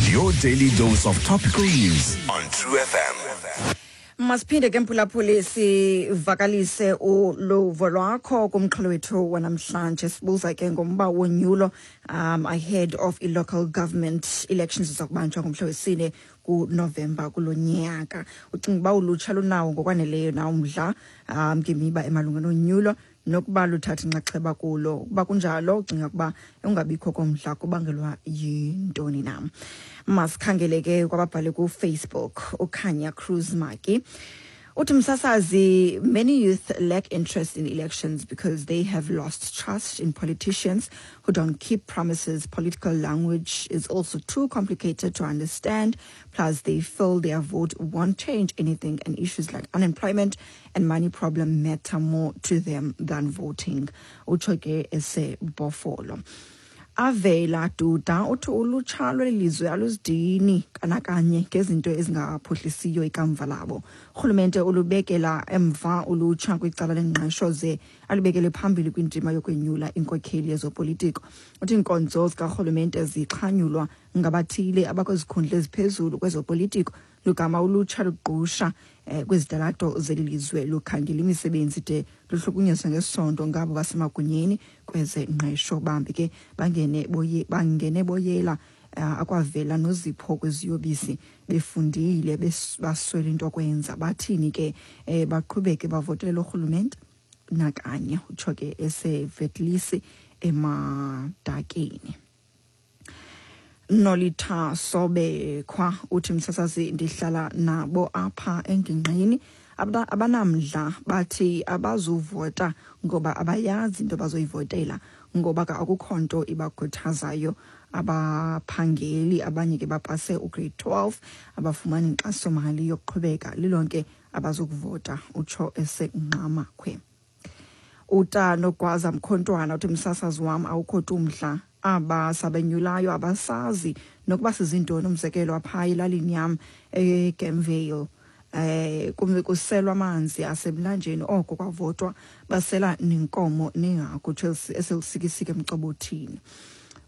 Your daily dose of topical news on True FM. Masiphinde ke mphulaphuli sivakalise uluvo lwakho kumxholo wethu wanamhlanje. Sibuza ke ngomba wonyulo ahead of i-local government elections ziza kubanjwa ngomhla wesine kuNovemba kulo nyaka. Ucinga uba ulutsha lunawo ngokwaneleyo na umdla ngemiba emalunga nonyulo nokuba luthatha inxaxheba kulo? Ukuba kunjalo, ucinga ukuba ungabikho komdla kubangelwa yintoni na? Masikhangele ke kwababhale kuFacebook. Ukhanya Cruz Maki uthi, "Msasazi, many youth lack interest in elections because they have lost trust in politicians who don't keep promises. Political language is also too complicated to understand. Plus, they feel their vote won't change anything, and issues like unemployment and money problem matter more to them than voting." Utsho ke eseBhofolo. Avela Duda uthi ulutsha lweli lizwe aluzidini kanakanye ngezinto ezingaphuhlisiyo ikamva labo. Urhulumente ulubekela emva ulutsha kwicala lengqesho ze alubekele phambili kwindima yokwenyula inkokheli yezopolitiko. Uthi iinkonzo zikarhulumente zixhanyulwa ngabathile abakwizikhundla eziphezulu kwezopolitiko, lugama ulutsha lugqusha kwizitalato zeli lizwe lukhangela imisebenzi de luhlukunyezwe ngesondo ngabo basemagunyeni kwezengqesho. Bambi ke bangene boyela akwavela nozipho kweziyobisi, befundile baswele into kwenza. Bathini ke baqhubeke bavotele lo rhulumente? Nakanye. Utsho ke esevetlisi eMadakeni. Nolitha Sobekhwa uthi, "Msasazi, ndihlala nabo apha engingqini. Abanamdla, bathi abazuvota ngoba abayazi into bazoyivotela, ngoba ke akukho nto ibakhuthazayo. Abaphangeli, abanye ke bapase ugrade 12, abafumani inkxasomali yokuqhubeka, lilonke abazukuvota." Utsho eseNgqamakhwe. Utanogwaza Mkhontwana uthi, "Msasazi wam, awukho tu umdla. Aba sabenyulayo abasazi nokuba sizintoni. Umzekelo, apha elalini yam eGamvale kumbe kuselwa amanzi asemlanjeni, oko kwavotwa basela nenkomo nehagu." Eselusikisike emcobothini.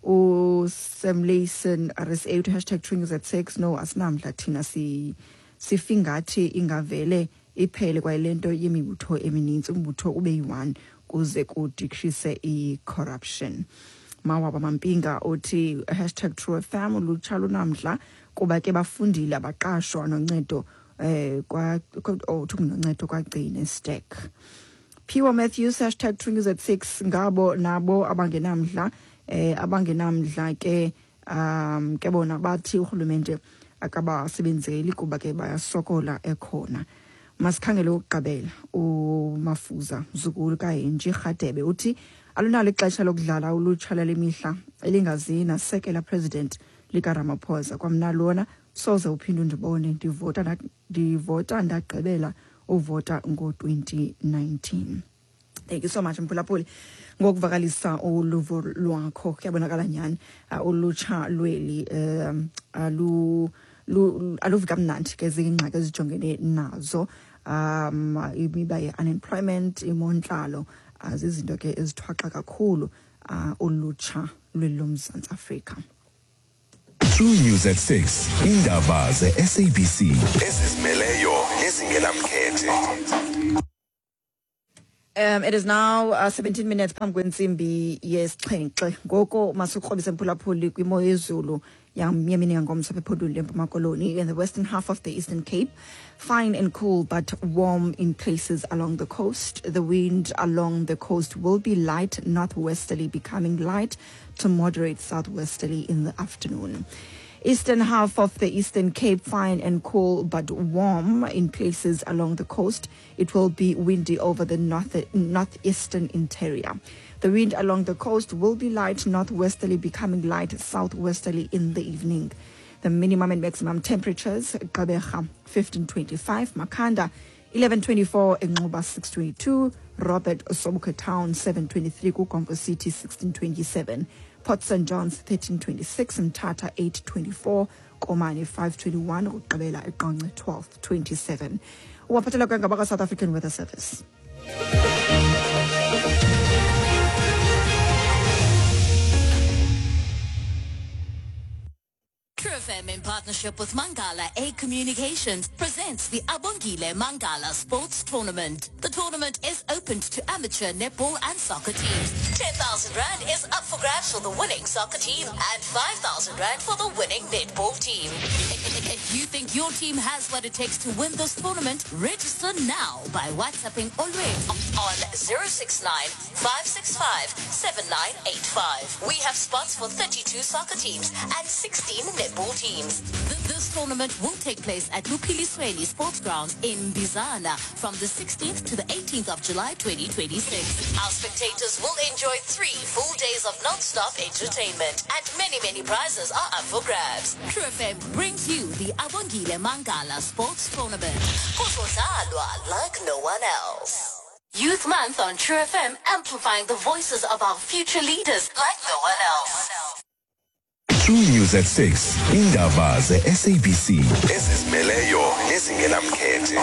USam Layson RSA uthi #TrueNews at 6, "No, asinamdla thina. Sifingathi ingavele iphele kwayile nto yemibutho eminintsi, umbutho ube yi-one kuze kudecrease i-corruption." Mawaba Mampinga uthi #TrueFM, "Ulutsha lunamdla kuba ke bafundile, abaqashwa, noncedo kwa oh, uthi noncedo kwagcine stack." Phiwo Matthews #TrueNews at 6, "Ngabo nabo abangenamdla abangenamdla ke ke bona bathi urhulumente akabasebenzeli kuba ke bayasokola ekhona." Masikhangele ukugqibela. UMafuza Mzukulu kaHenji Rhadebe uthi alunalo ixesha lokudlala ulutsha lale mihla elingazi nasekela president likaRamaphosa. "Kwamna lona soze uphinde undibone ndivota, ndagqibela uvota ngo-2019." Thank you so much, mphulaphuli, ngokuvakalisa uluvo lwakho. Kuyabonakala nyhani ulutsha lweli aluvi kamnandi ke zingxaki ezijongene nazo, imiba ye-unemployment, imontlalo, zizinto ke ezithwaxa kakhulu ulutsha lweli loMzantsi Afrika. True News at 6. Indaba ze-SABC ezizimeleyo nezingenamkhethe. It is now 17 minutes phambi kwentsimbi yesixhenxe. Ngoko masikrobise, mphulaphuli, kwimo yezulu yemini yangomso apha ephondweni leMpuma Koloni. In the western half of the Eastern Cape, fine and cool but warm in places along the coast. The wind along the coast will be light northwesterly, becoming light to moderate southwesterly in the afternoon. Eastern half of the Eastern Cape, fine and cool but warm in places along the coast. It will be windy over the northeastern interior. The wind along the coast will be light northwesterly, becoming light southwesterly in the evening. The minimum and maximum temperatures: Gqeberha 1525, Makhanda 1124, Nxuba 622, Robert Sobukwe Town 723, KuGompo City 1627, Port St Johns 1326, Mthatha 824, Komani 521, ukugqibela eQonce 1227. Uwaphathela kangabaka South African Weather Service. True FM in partnership with Mangala A Communications presents the Abongile Mangala Sports Tournament. The tournament is open to amateur netball and soccer teams. 10,000 Rand is up for grabs for the winning soccer team and 5,000 Rand for the winning netball team. If you think your team has what it takes to win this tournament, register now by WhatsApping Olwe on 069 565 7985. We have spots for 32 soccer teams and 16 netball teams. This tournament will take place at Lupilisweni Sports Grounds in Bizana from the 16th to the 18th of July 2026. Our spectators will enjoy 3 full days of non-stop entertainment and many, many prizes are up for grabs. True FM brings you the Abongile Mangala Sports Tournament. Kuzodlalwa like no one else. Youth Month on True FM, amplifying the voices of our future leaders like no one else. True News at 6. Indaba ze-SABC ezizimeleyo nezingenamkhethe.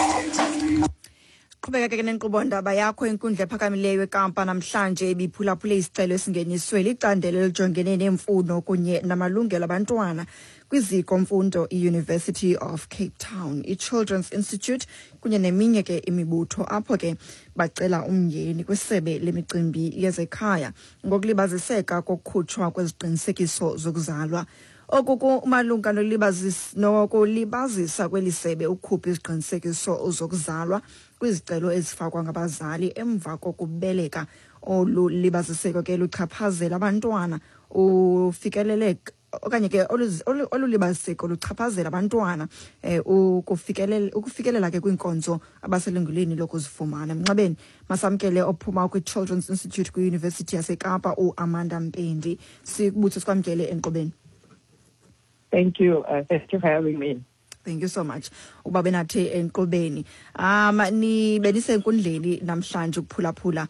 Qhubeka ke nenkqubo ndaba yakho. Inkundla ephakamileyo eKampa namhlanje ibiphulaphule isicelo esingeniswe licandelo elijongene neemfuno kunye namalungelo abantwana kwiziko mfundo i-University of Cape Town, i-Children's Institute kunye neminye ke imibutho, apho ke bacela umyeni kwisebe lemicimbi yezekhaya ngokulibaziseka kokukhutshwa kweziqinisekiso zokuzalwa. Oku kumalunga nokulibazisa kweli sebe ukukhupha iziqinisekiso zokuzalwa kwizicelo ezifakwa ngabazali emva kokubeleka. Olu libaziseko ke luchaphazela abantwana ufikeleleka okanye ke olu libaziseko luchaphazela abantwana ukufikelela ke kwiinkonzo abaselungelweni lokuzifumana. Mnxebeni masamkele ophuma kwi-Children's Institute kwi-University yaseKapa, uAmanda Mpendi. Sikubuthe sikwamkele enkqubeni. Thank you. Thank you for having me. Thank you so much ukuba benathi enkqubeni. Nibe nisenkundleni namhlanje ukuphulaphula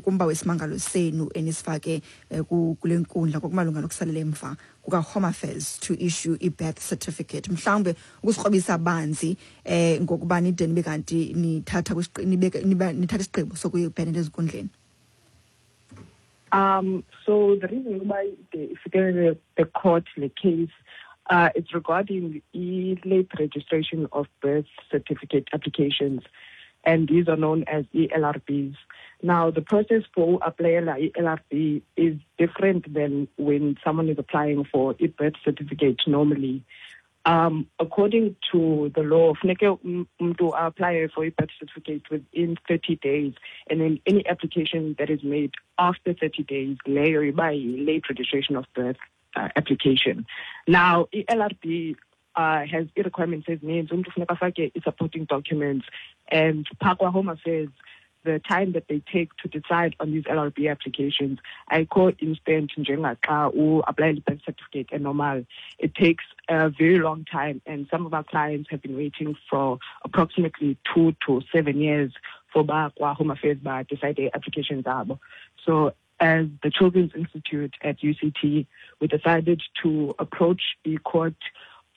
kumba wesimangalo senu enisifake kule nkundla ngokumalunga nokusalela emva kuka-Home Affairs to issue i-birth certificate. Mhlawumbe ukusikrobisa banzi ngokuba nide nibe kanti nithatha nithatha isigqibo sokuyibhenela ezinkundleni. So the reason why the court the case, it's regarding late registration of birth certificate applications, and these are known as ELRBs. Now, the process for applying ELRB is different than when someone is applying for a birth certificate normally. According to the law, funeke umntu apply for a birth certificate within 30 days, and then any application that is made after 30 days, leyo iba late registration of birth application. Now, ELRB has requirements ezininzi. Umntu funeka afake i-supporting documents, and phaa kwa-Home Affairs, the time that they take to decide on these LRB applications, ayikho instant njengaxa u-apply birth certificate enormal. It takes a very long time, and some of our clients have been waiting for approximately 2 to 7 years for ba kwa-Home Affairs ba decide their applications abo. So as the Children's Institute at UCT, we decided to approach the court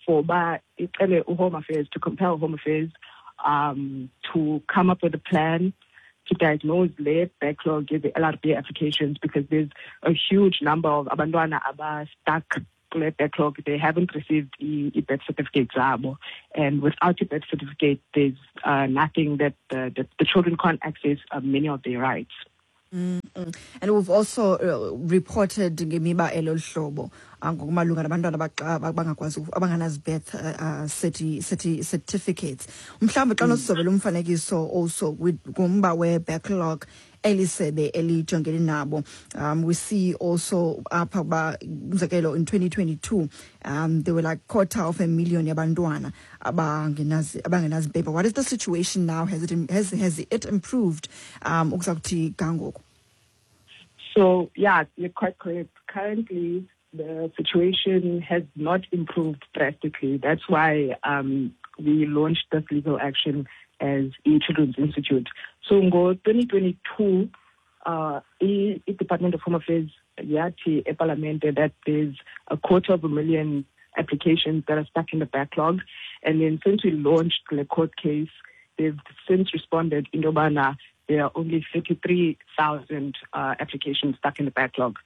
for ba icele Home Affairs to compel Home Affairs to come up with a plan to diagnose late backlog the LRB applications, because there's a huge number of abantwana aba stuck kule backlog. They haven't received i birth certificate zabo, and without a birth certificate, there's nothing that the children can't access many of their rights. And we've also reported ngemiba elolu hlobo ngokumalunga nabantwana abangakwazi abangenazi birth certificates. Mhlawumbe xa nosizobela umfanekiso also kumba we-backlog elisebe elijongene nabo. We see also apha uba, umzekelo, in 2022 there were like quarter of a million yabantwana abangenazi paper. What is the situation now? Has it improved ukuza kuthi ga ngoku? So, yeah, you're quite correct. Currently, the situation has not improved drastically. That's why we launched this legal action as e-Children's Institute. So, in 2022, i-Department of Home Affairs yathi eParliament that there's a quarter of a million applications that are stuck in the backlog. And then since we launched the court case, they've since responded in yobana there are only 33,000 applications stuck in the backlog.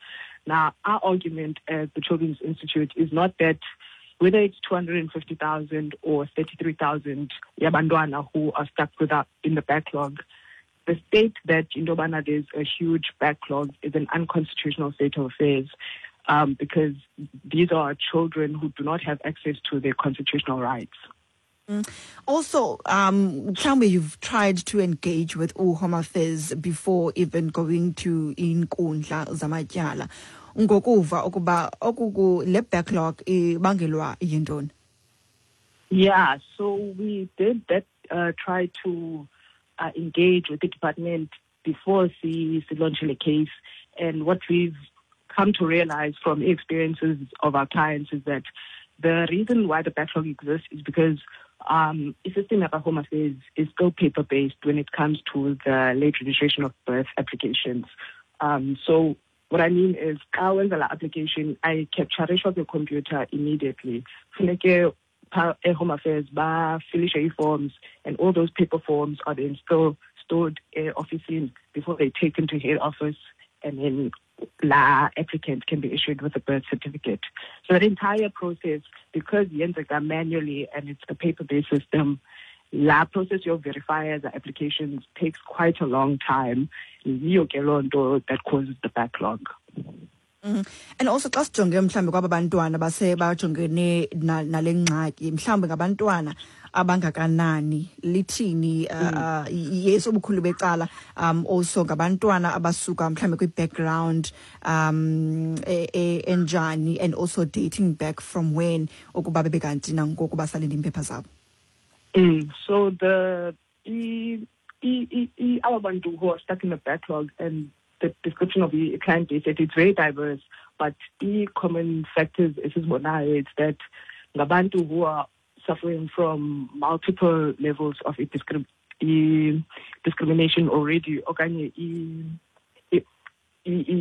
Now, our argument at the Children's Institute is not that whether it's 250,000 or 33,000 yabantwana who are stuck without in the backlog, the state that in Dobana there's a huge backlog is an unconstitutional state of affairs, because these are children who do not have access to their constitutional rights. Also, mhlawumbe you've tried to engage with uHome Affairs before even going to inkundla zamatyala. Ngokuva ukuba okuku le backlog ibangelwa yintoni? Yeah, so we did that, try to engage with the department before we launched the case. And what we've come to realize from experiences of our clients is that the reason why the backlog exists is because the system at Home Affairs is still paper-based when it comes to the late registration of birth applications. So what I mean is, xa wenza la application, I capture the computer immediately. Funeke Home Affairs bafilishe ii-forms, and all those paper forms are then still stored office before they take them to head office, and then la applicant can be issued with a birth certificate. So that entire process, because yenzeka manually and it's a paper-based system, la process you verify the applications takes quite a long time. Yiyo ke loo nto that causes the backlog. And also xa sijonge mhlawumbi kwaba bantwana base bajongene nale ngxaki, mhlawumbi ngabantwana abangakanani, lithini yes ubukhulu becala, also ngabantwana abasuka mhlawumbi kwi-background enjani, and also dating back from when ukuba bebe kanti nangoku basalinde iimpepha zabo? So the aba bantu who are stuck in the backlog, and the description of the client base, it's very diverse, but the common factors esizibonayo is that ngabantu who are suffering from multiple levels of discrimination already, okanye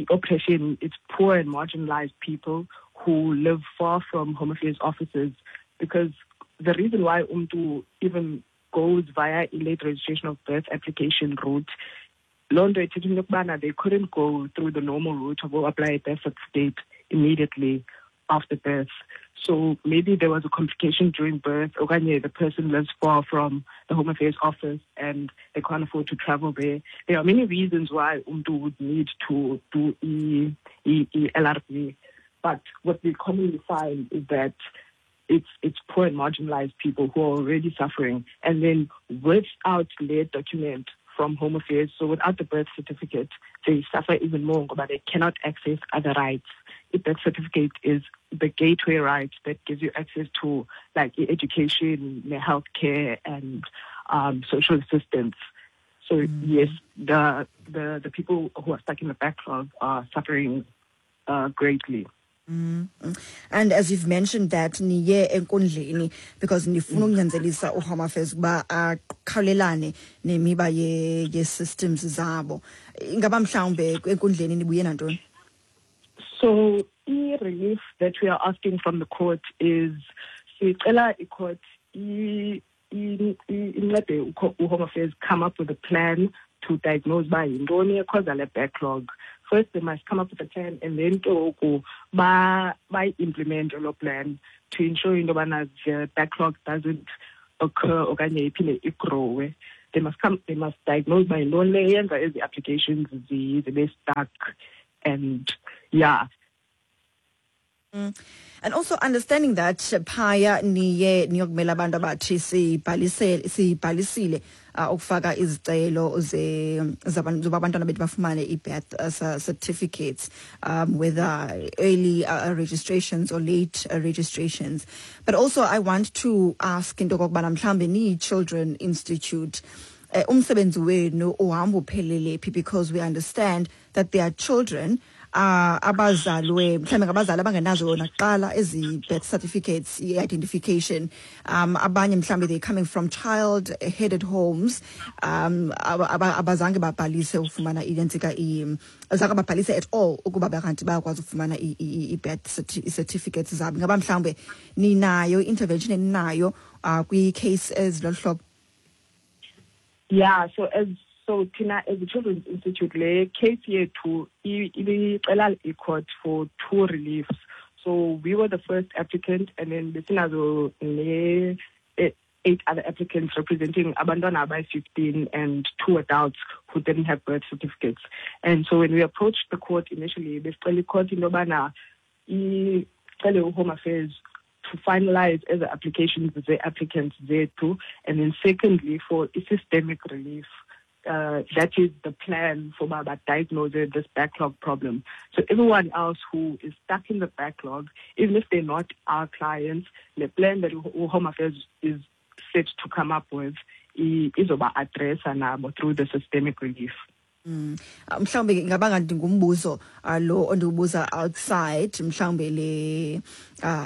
oppression. It's poor and marginalized people who live far from Home Affairs offices, because the reason why umntu even goes via a late registration of birth application route, loo nto ithetha into yokubana they couldn't go through the normal route of apply a birth certificate immediately after birth. So maybe there was a complication during birth, okanye the person lives far from the Home Affairs office and they can't afford to travel there. There are many reasons why umntu would need to do LRB. But what we commonly find is that it's poor and marginalized people who are already suffering. And then without their document from Home Affairs, so without the birth certificate, they suffer even more, but they cannot access other rights. The birth certificate is the gateway right that gives you access to education, healthcare, and social assistance. So yes, the people who are stuck in the backlog are suffering greatly. And as you've mentioned that niye enkundleni because nifuna ukunyanzelisa uHome Affairs ukuba akhawulelane nemiba ye systems zabo, ingaba mhlawumbe enkundleni nibuye nantoni? So i-relief that we are asking from the court is sicela i-court incede uHome Affairs come up with a plan to diagnose uba yintoni e-causa le backlog. First, they must come up with a plan, and then ke ngoku bayi-implement loo plan to ensure into yobana the backlog doesn't occur okanye iphinde i-growe. They must diagnose uba yintoni le eyenza ezi applications zibe stuck, and yeah. And also understanding that phaya niye niyokumela abantu abathi sibhalisile ukufaka izicelo ze zabantu zoba abantwana bethu bafumane i-birth certificates, whether early registrations or late registrations. But also I want to ask into okokubana mhlawumbe niyi-Children Institute, umsebenzi wenu uhamba uphelele phi, because we understand that there are children abazalwe mhlawumbe ngabazali abangenazo nakuqala ezi birth certificates, i-identification, abanye mhlawumbe they coming from child headed homes, abazange babhalise ukufumana inentsika, zange babhalise at all ukuba bakanti bayakwazi ukufumana i-birth certificates zabo. Ingaba mhlawumbe ninayo i-intervention eninayo kwi-case ezilolu hlobo? Yeah, so as So thina as the Children's Institute, le case yethu ibicela i-court for two reliefs. So we were the first applicant, and then besinazo ne 8 other applicants representing abantwana abayi-15 and 2 adults who didn't have birth certificates. And so when we approached the court initially, besicela i-court into yobana icele u-Home Affairs to finalize ezi applications ze-applicants zethu, and then secondly for systemic relief. That is the plan for uba diagnose this backlog problem. So everyone else who is stuck in the backlog, even if they're not our clients, the plan that Home Affairs is set to come up with izoba addressa nabo through the systemic relief. Mhlawumbe ngaba ngathi ngumbuzo lo ondiwubuza outside mhlawumbe le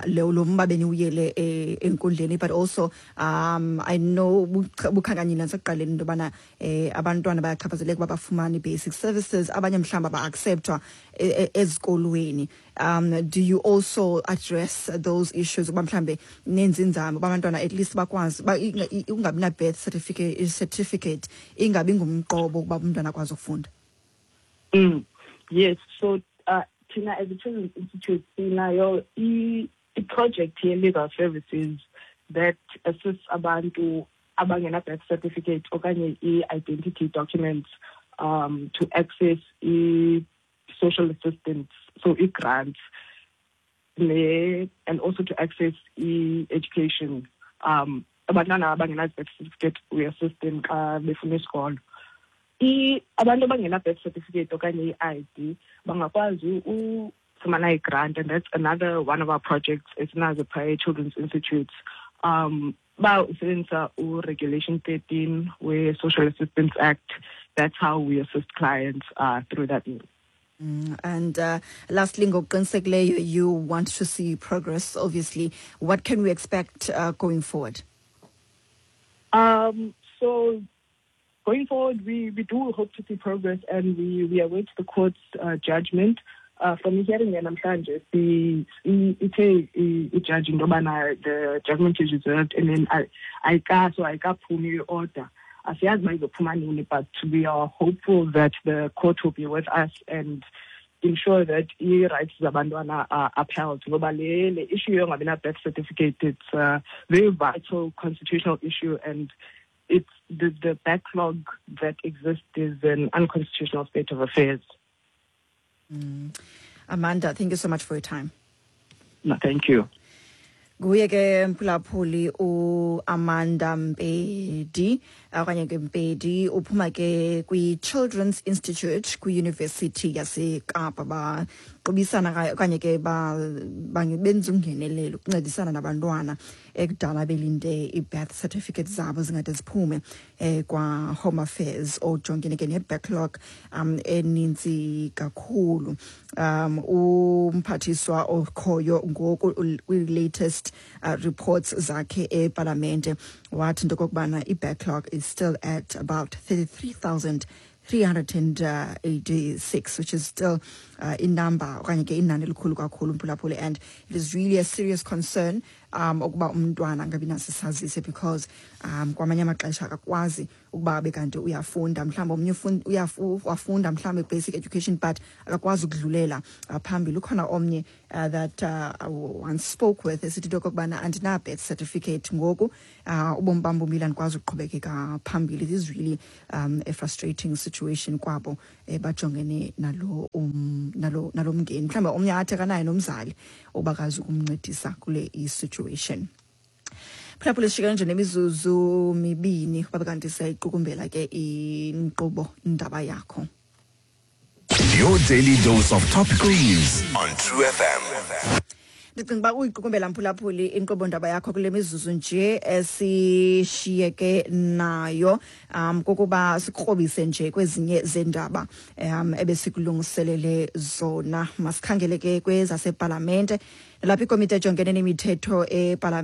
lo mba beniwuyele enkundleni, but also I know bukhankanyile nasekuqaleni into yobana abantwana bayachaphazeleka uba bafumane basic services, abanye mhlawumbe aba-acceptwa ezikolweni. Do you also address those issues uba mhlawumbe nenze inzame uba abantwana at least bakwazi ungabi na-birth certificate ingabi ngumqobo ukuba umntwana akwazi ukufunda? Yes, so thina as a Children's Institute sinayo i-project ye-legal services that assists abantu abangena-birth certificate okanye i-identity documents to access i-social assistance, so i-grants, and also to access i-education. Abantwana abangena-birth certificate we assist them xa befuna isikolo. Abantu abangena-birth certificate okanye i-ID bangakwazi ufumana i-grant, and that's another one of our projects esinazo phaya e-Children's Institute. Ba usebenzisa u-Regulation 13 we-Social Assistance Act. That's how we assist clients through that means. And lastly, ngokuqinisekileyo, you want to see progress, obviously. What can we expect going forward? So going forward, we do hope to see progress, and we await the court's judgment. From hearing namhlanje, ithe i-judge into yobana the judgment is reserved, and then ayikaphumi i-order. Asiyazi uba izophuma nini, but we are hopeful that the court will be with us and ensure that i-rights zabantwana are upheld. Ngoba le issue yongabi na-birth certificate, it's a very vital constitutional issue, and it's the backlog that exists is an unconstitutional state of affairs. Amanda, thank you so much for your time. No, thank you. Nguye ke mphulaphuli uAmanda Mpedi okanye ke Mpedi, uphuma ke kwi-Children's Institute kwiYunivesithi yaseKapa. Baqubisana okanye ke benza ungenelelo ukuncedisana nabantwana ekudala belinde i-birth certificate zabo zingade ziphume kwa-Home Affairs, ojongene ke ne-backlog eninzi kakhulu. Umphathiswa okhoyo ngoku kwi-latest reports zakhe epalamente wathi into okokubana i-backlog is still at about 33,386, which is still inumber okanye ke inani elikhulu kakhulu mphulaphuli, and it is really a serious concern ukuba umntwana angabi naso isazisi, because kwamanye amaxesha akakwazi ukuba abe kanti uyafunda, mhlawumbi omnye wafunda mhlawumbi basic education but akakwazi ukudlulela phambili. Ukhona omnye that I once spoke with esithi into okokubana andina-birth certificate ngoku, ubomi bam bumile, andikwazi ukuqhubekeka phambili. It is really a frustrating situation kwabo bajongene nalo nalo mngeni. Mhlawumbi omnye athi akanaye nomzali obakazi ukumncedisa kule i-situation. Phulaphula, sishiyeke nje nemizuzu 2 babe kanti siyayiqukumbela ke inkqubo Indaba Yakho. Your daily dose of topical news on True FM. Ndicinga uba uyiqukumbela mphulaphuli inkqubo Ndaba Yakho kule mizuzu nje esishiyeke nayo, kokuba sikrobise nje kwezinye zendaba ebesikulungiselele zona. Masikhangele ke kwezasepalamente. Nalapho ikomiti ejongene nemithetho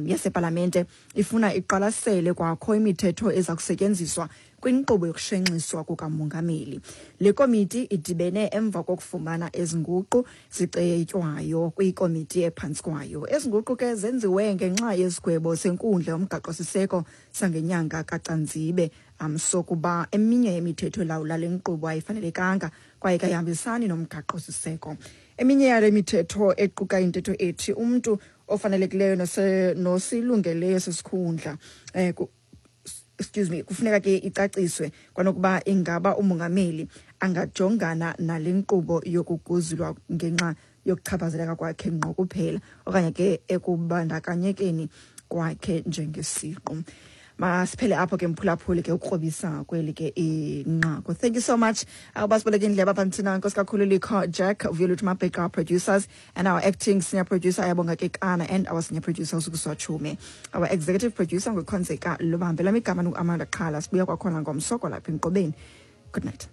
yasepalamente ifuna iqwalasele kwakho imithetho eza kusetyenziswa kwinkqubo yokushenxiswa kukamongameli. Le komiti idibene emva kokufumana ezi nguqu zicetywayo kwikomiti ephantsi kwayo. Ezi nguqu ke zenziwe ngenxa yesigwebo senkundla yomgaqo-siseko sangenyanga kaCanzibe sokuba eminye yemithetho elawula le nkqubo ayifanelekanga kwaye kayihambisani nomgaqo-siseko. Eminye yale mithetho equka intetho ethi umntu ofanelekileyo nosilungeleyo sesikhundla excuse me, kufuneka ke icaciswe kwanokuba ingaba umongameli angajongana nale nkqubo yokuguzulwa ngenxa yokuchaphazeleka kwakhe ngqo kuphela okanye ke ekubandakanyekeni kwakhe njengesiqu. Masiphele apho ke, mphulaphuli, ke ukrobisa kweli ke inqaku. Thank you so much ubasiboleka indlebe apha nthina. Nkosi kakhulu Likho Jack Vuyolwethu Mabheka, our producers, and our acting senior producer Ayabonga Kekana, and our senior producer uSukuswa Chume. Our executive producer nguKhonzeka Lubambe. Lam igama ngu-Amanda Qhala. Sibuya kwakhona ngomso kwalapha enkqubeni. Good night.